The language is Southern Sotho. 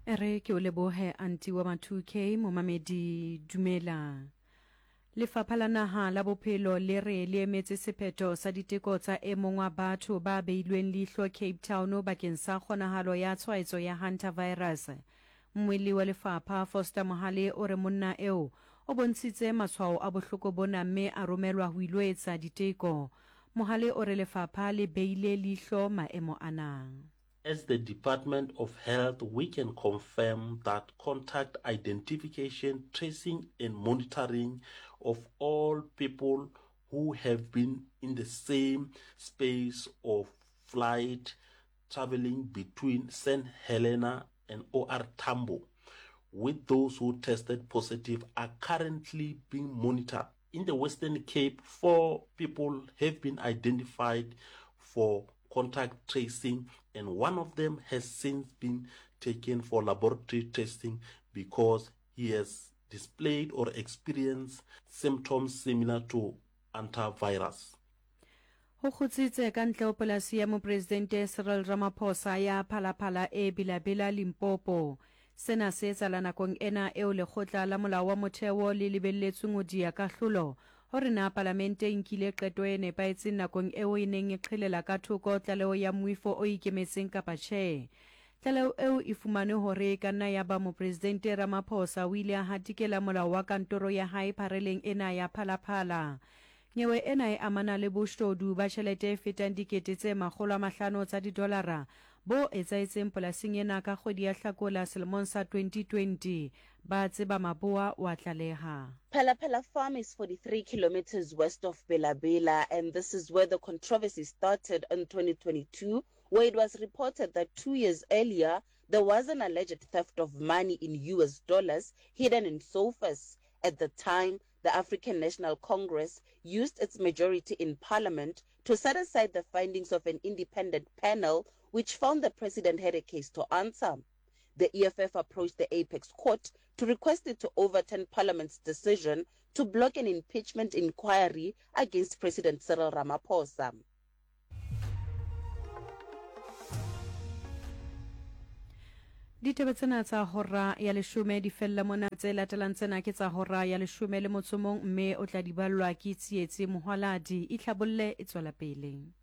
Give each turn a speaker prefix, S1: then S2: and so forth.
S1: E re ke o lebohe anti wa ma-2K, momamedi dumela. Lefapha la Naha la Bophelo le re le emetse sephetho sa diteko tsa e mong wa batho ba beilweng leihlo Cape Town bakeng sa kgonahalo ya tshwaetso ya hantavirus. Mmuelli wa lefapha, Foster Mohale o re monna eo o bontshitse matshwao a bohloko bona mme a romelwa ho ilo etsa diteko. Mohale o re lefapha le beile leihlo maemo ana.
S2: As the Department of Health we can confirm that contact identification, tracing and monitoring of all people who have been in the same space or flight travelling between St Helena and OR Tambo with those who tested positive are currently being monitored. In the Western Cape, four people have been identified for contact tracing and one of them has since been taken for laboratory testing because he has displayed or experienced symptoms similar to antivirus.
S1: Ho kgutsitse ka ntle ho polasi ya Mopresidente Cyril Ramaphosa ya Phalaphala e Bila-Bila, Limpopo. Sena se etsahala nakong ena eo lekgotla la molao wa motheo le lebelletsweng ho diya kahlolo hore na palamente e nkile qeto e nepahetseng nakong eo e neng e qhelela ka thoko tlaleho ya moifo o ikemetseng kapa tjhe. Tlaleho eo e fumane hore e ka nna ya ba Mopresidente Ramaphosa o ile a hatikela molao wa kantoro ya hae phareleng ena ya Phalaphala. Nyewe ena e amana le boshodu ba tjhelete e fetang dikete tse 500 tsa didolara bo etsahetseng polasing ena ka kgwedi ya Hlakola selemong sa 2020. Ba tseba Maboa o a tlaleha.
S3: Phala-Phala Farm is 43 kilometers west of Bela-Bela and this is where the controversy started in 2022 where it was reported that two years earlier there was an alleged theft of money in US dollars hidden in sofas. At the time, the African National Congress used its majority in parliament to set aside the findings of an independent panel which found the president had a case to answer. The EFF approached the Apex Court to request it to overturn parliament's decision to block an impeachment inquiry against President Cyril Ramaphosa.
S1: Ditaba tsena tsa hora ya leshome di fella mona. Tse latelang tsena ke tsa hora ya leshome le motso mong mme o tla di ballwa ke Tsietsi Mohwaladi. Itlhabolle e tswela pele.